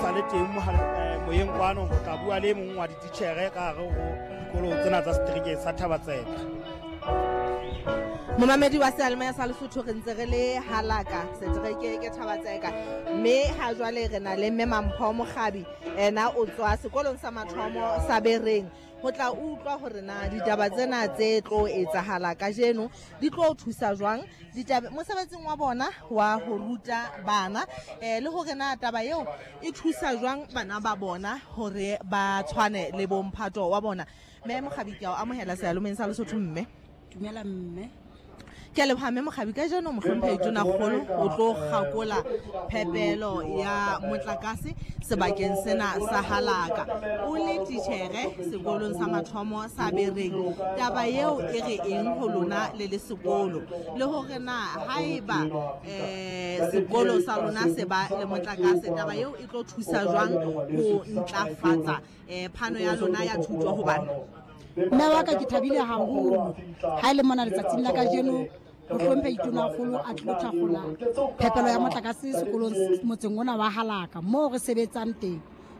sa le teng moyeng kwano ho tla bua le e mong wa dititjhere ka hare ho dikolo tsena tsa setereke sa Thabatseka. Momamedi wa seyalemoya sa Lesotho, re ntse re le Halaka setereke ke Thabatseka, mme ha jwale re na le mme Mampho Mokgabi, ena o tswa sekolong sa mathomo sa Bereng, ho tla utlwa hore na ditaba tsena tse tlo etsahala kajeno di tlo thusa jwang ditaba mosebetsing wa bona wa ho ruta bana, le hore na taba eo e thusa jwang bana ba bona hore ba tshwane le bomphato wa bona. Mme Mokgabi, ke a o amohela seyalomeng sa Lesotho. Mme Dumela, mme. Ke a leboha, mme Mokgabi. Ka jeno mohlomphehi Tonakgolo o tlo kgakola phepelo ya motlakase sebakeng sena sa Halaka. O le titjhere sekolong sa mathomo sa Bereng, taba eo e re eng ho lona le le sekolo, le hore na haeba sekolo sa lona se ba le motlakase, taba eo e tlo thusa jwang ho ntlafatsa phano ya lona ya thuto ho bana? Mme wa ka, ke thabile haholo ha e le mona letsatsing la kajeno ho hlomphe Itonakgolo a tlilo thakgola phepelo ya motlakase sekolong motseng ona wa Halaka moo re sebetsang teng.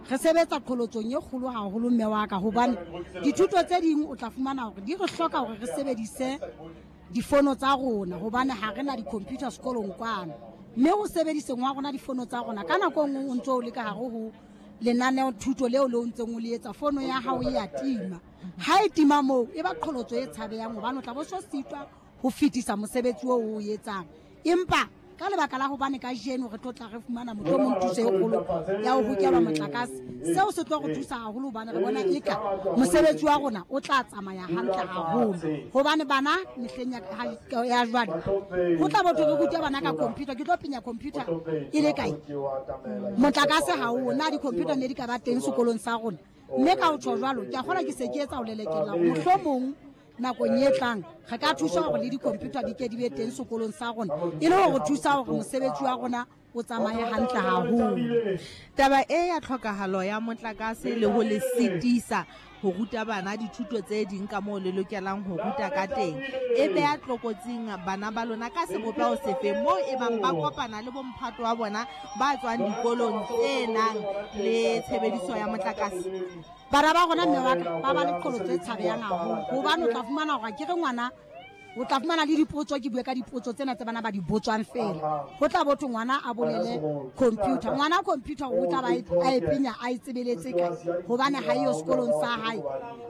Re sebetsa qholotsong e kgolo haholo, mme wa ka, hobane dithuto tse ding o tla fumana hore di re hloka hore re sebedise difono tsa rona, hobane ha re na di-computer sekolong kwano. Mme ho sebediseng wa rona difono tsa rona, ka nako e nngwe o ntso o le ka hare ho lenaneo thuto leo le o ntseng o le etsa, fono ya hao e ya tima. Ha e tima moo, e ba qholotso e tshabehang, hobane o tla bo so sitwa ho fetisa mosebetsi oo o etsang. Empa ka lebaka la hobane kajeno re tlo tla re fumana mohlomong thuso e kgolo ya ho hokelwa motlakase, seo se tlo re thusa haholo, hobane re bona eka mosebetsi wa rona o tla tsamaya hantle haholo, hobane bana mehleng ya jwale ho tla botho re rute bana ka computer. Ke tlo penya computer e le kae? Motlakase ha o na. Di-computer ne di ka ba teng sekolong sa rona. Mme ka ho tjho jwalo, ke a kgolwa ke se ke etsa ho lelekela hore mohlomong nakong e tlang re ka thusa hore le di-computer di ke di be teng sekolong sa rona, e le hore thusa hore mosebetsi wa rona o tsamaye hantle haholo. Taba e ya tlhokahalo ya motlakase le ho le sitisa ho ruta bana dithuto tse ding ka moo le lokelang ho ruta ka teng, e beha tlokotsing bana ba lona ka sebopeho sefe moo e bang ba kopana le bomphato wa bona ba tswang dikolong tse nang le tshebediso ya motlakase? Bana ba rona, mme wa ka, ba ba le qholotso e tshabehang haholo, hobane o tla fumana hore ke re ngwana o tla fumana le dipotso. Ke bue ka dipotso tsena tse bana ba di botswang fela, ho tla botho ngwana a bolele computer. Ngwana computer o tla ba a e penya, a e tsebeletse kae, hobane ha eyo sekolong sa hae?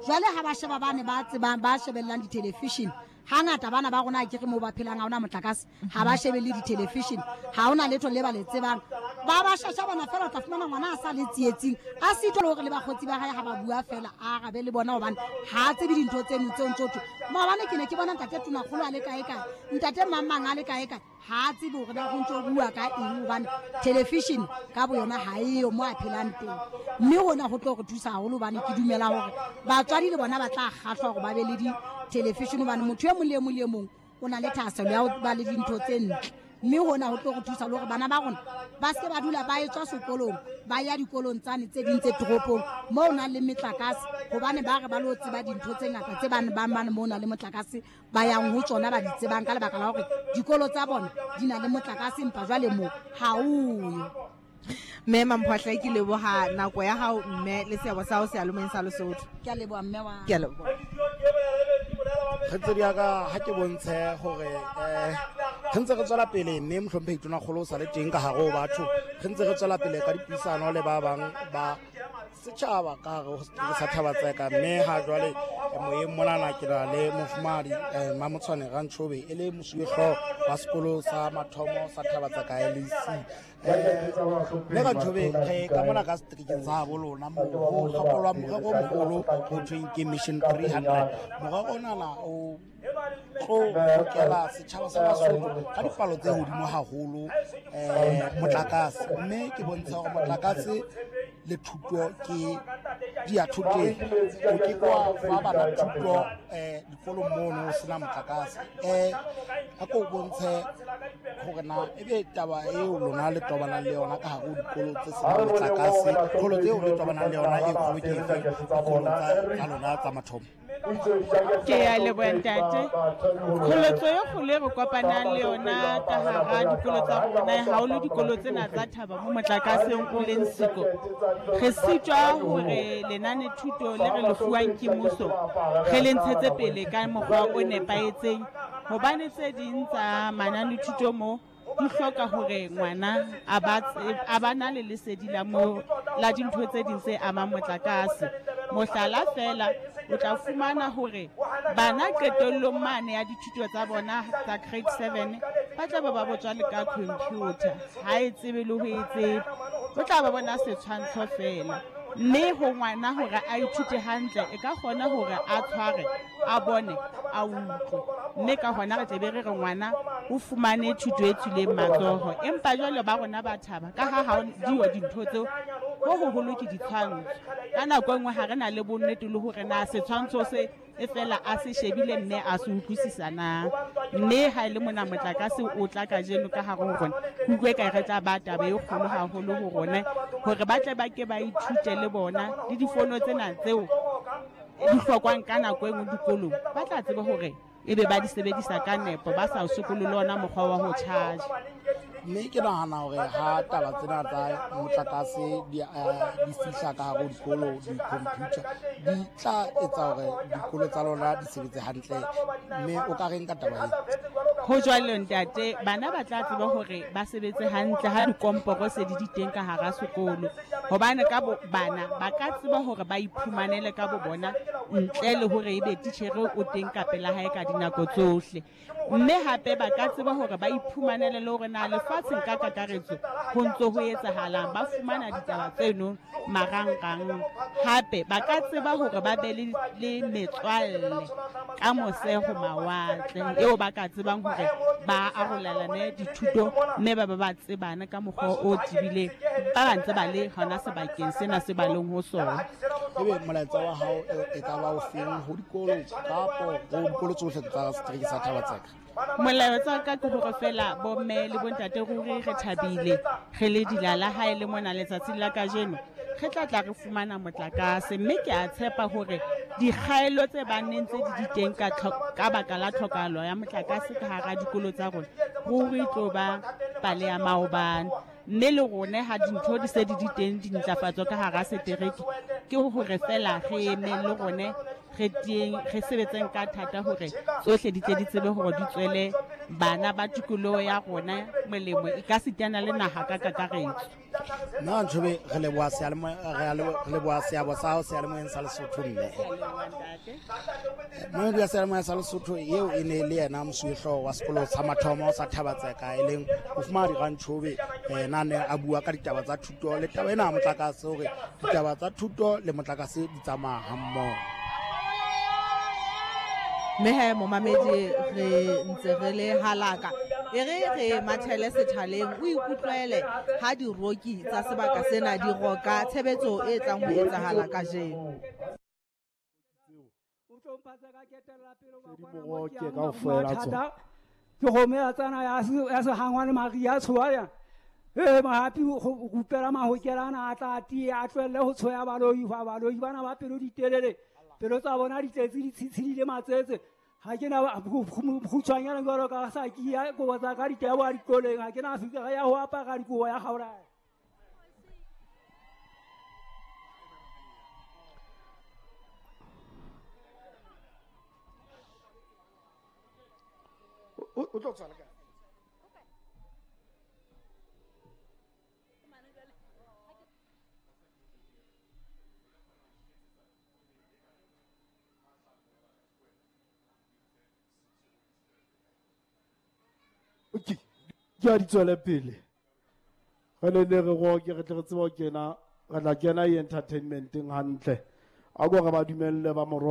Jwale ha ba sheba bane ba tsebang, ba shebellang di-television hangata, bana ba rona ke re moo ba phelang ha ona motlakase, ha ba shebelle di-television, ha ona letho le ba le tsebang, ba ba shasha bana fela. O tla fumana ngwana a sa le tsietsing, a sitwa le hore le bakgotsi ba hae ha ba bua fela a arabe le bona, hobane ha a tsebe dintho tseno tseo ntso thwe maobane ke ne ke bona ntate Tonakgolo a le kae kae, ntate mang mang a le kae kae. Ha a tsebe hore na go ntso bua ka eng, hobane television ka bo yona ha eyo mo a phelang teng. Mme hona ho tlo re thusa haholo, hobane ke dumela hore batswadi le bona ba tla kgahlwa hore ba be le di-television, hobane motho e mong le e mong le e mong o na le thahasello ya ho ba le dintho tse ntle. Mme hona ho tlo re thusa le hore bana ba rona ba seke ba dula ba etswa sekolong ba ya dikolong tsane tse ding tse toropong moo o nang le metlakase, hobane ba re ba lo tseba dintho tse ngata tse bane ba mane moo o nang le motlakase ba yang ho tsona ba di tsebang, ka lebaka la hore dikolo tsa bona di na le motlakase, empa jwale moo ha oyo. Mme Mamphoahle, ke leboha nako ya hao mme le seabo sa hao seyalomeng sa Lesotho. Ke a leboha, mme wa Ke a leboha. Kgaitsedi ya ka, ha ke bontshe hore re ntse re tswela pele, mme mohlomphehi Tonakgolo o sa le teng ka hare ho batho. Re ntse re tswela pele ka dipuisano le ba bang ba setjhaba ka hare ho setereke sa Thabatseka. Mme ha jwale moyeng monana ke na le mofumahadi Mamotshwane Rantshobe, e le mosuwehlooho wa sekolo sa mathomo sa Thabatseka LEC. Mme Rantshobe, re ka mona ka seterekeng sa habo lona moo ho kgakolwang morero o moholo ho thweng ke Mission 300. Morero onana o tlo hokela setjhaba sa Basotho ka dipalo tse hodimo haholo motlakase, mme ke bontsha hore motlakase le thuto ke di ya thoteng. O ke kwa fa bana thuto dikolong mono ho sena motlakase. A ko bontshe hore na ebe taba eo lona le tobanang le yona ka hare ho dikolo tse senang motlakase, kgolo tseo le tobanang le yona e kgolo ke efe dikolong tsa lona tsa mathomo? Ke ya leboha ntate. Qholotso e kgolo e re kopanang le yona ka hara dikolo tsa rona, haholo dikolo tsena tsa thaba mo motlakaseng o leng siko. Re sitwa hore lenane thuto le re le fuwang ke mmuso re le ntshetse pele ka mokgwa o nepahetseng, hobane tse ding tsa manane thuto mo di hloka hore ngwana a ba na le lesedi la mo la dintho tse ding tse amang motlakase. Mohlala fela, o tla fumana hore bana qetellong mane ya dithuto tsa bona tsa grade 7 ba tla ba botswa le ka computer, ha e tsebe le ho e tseba, o tla ba bona setshwantsho fela. Mme ho ngwana hore a ithute hantle, e ka kgona hore a tshware, a bone, a utlwe. Mme ka hona re tle be re re ngwana o fumane thuto e tswileng matsoho. Empa jwale ba rona ba thaba ka ha diyo dintho tseo, ho hoholo ke ditshwantsho. Ka nako e nngwe ha re na le bonnete le hore na setshwantsho se e fela a se shebile mme a se utlwisisa na. Mme ha e le mona motlakase o tla kajeno ka hare ho rona, ke utlwe ka re tla ba taba e kgolo haholo ho rona hore ba tle ba ke ba ithute le bona le difono tsena tseo di hlokwang ka nako e nngwe dikolong, ba tla tseba hore ebe ba di sebedisa ka nepo, ba sa sokole le ona mokgwa wa ho charge. Mme ke nahana hore ha taba tsena tsa motlakase di fihla ka hare ho dikolo, di-computer di tla etsa hore dikolo tsa lona di sebetse hantle. Mme o ka reng ka taba e? Ho jwalo ntate, bana ba tla tseba hore ba sebetse hantle ha dikomporo se di di teng ka hara sekolo, hobane ka bo bana ba ka tseba hore ba iphumanele ka bo bona ntle le hore ebe titjhere o teng ka pela hae ka dinako tsohle. Mme hape ba ka tseba hore ba iphumanele le hore na lefatsheng ka kakaretso ho ntso ho etsahalang, ba fumana ditaba tseno marangrang. Hape ba ka tseba hore ba be le metswalle ka mose ho mawatle eo ba ka tsebang hore ba arolelane dithuto mme ba ba ba tsebane ka mokgwa o tebileng, ba ba ntse ba le hona sebakeng sena se ba leng ho sona. Ebe molaetsa wa hao e ka ba o feng ho dikolo kapo ho dikolo tsohle tsa setereke sa Thaba-Tseka? Molaetsa wa ka ke hore fela bomme le bontate ruri re thabile, re le dilala ha e le mona letsatsing la kajeno re tla tla re fumana motlakase. Mme ke a tshepa hore dikgaello tse bang ne ntse di di teng ka baka la tlhokahalo ya motlakase ka hara dikolo tsa rona ruri e tlo ba pale ya maobane. Mme le rona ha dintho di se di di teng dintlafatso ka hara setereke, ke hore fela re emeng le rone re teng, re sebetseng ka thata hore tsohle di tle di tsebe hore di tswele bana ba tikoloho ya rona molemo, e ka sitana le naha ka kakaretso. Nna Ntshobeng, re leboha re leboha seabo sa hao seyalemoyeng sa Lesotho mme. Momedi wa seyalemoya sa Lesotho eo e ne le yena mosuwehlooho wa sekolo sa mathomo sa Thaba-Tseka, e leng Mofumahadi Rantshobe, yena ne a bua ka ditaba tsa thuto le taba ena ya motlakase, hore ditaba tsa thuto le motlakase di tsamaya hammoho. Mme he momamedi, re ntse re le halaka, e re re mathele sethaleng o ikutlwele ha diroki tsa sebaka sena di roka tshebetso e tlang ho etsahala kajeno. Ke kgomo ya tsana ya sehangwa le Maria tshoya. Mahapi ho rupela mahokelana a tla tie a tlohelle ho tshoya baloi, fa baloi bana ba pelo di telele, pelo tsa bona di tletse di tshitshidile matsetse. Ha ke na kgutshwanyana jwalo ka sa ke ya kobo tsa ka di tebo a dikoleng, ha ke na fikara ya ho apara dikobo ya kgaola. O tlo tswala kae? Okay, ke a di tswele pele. Re ne ne re roke, re tle re tsebe ho kena, re tla kena e entertainmenteng hantle. A ko re ba dumelle ba moro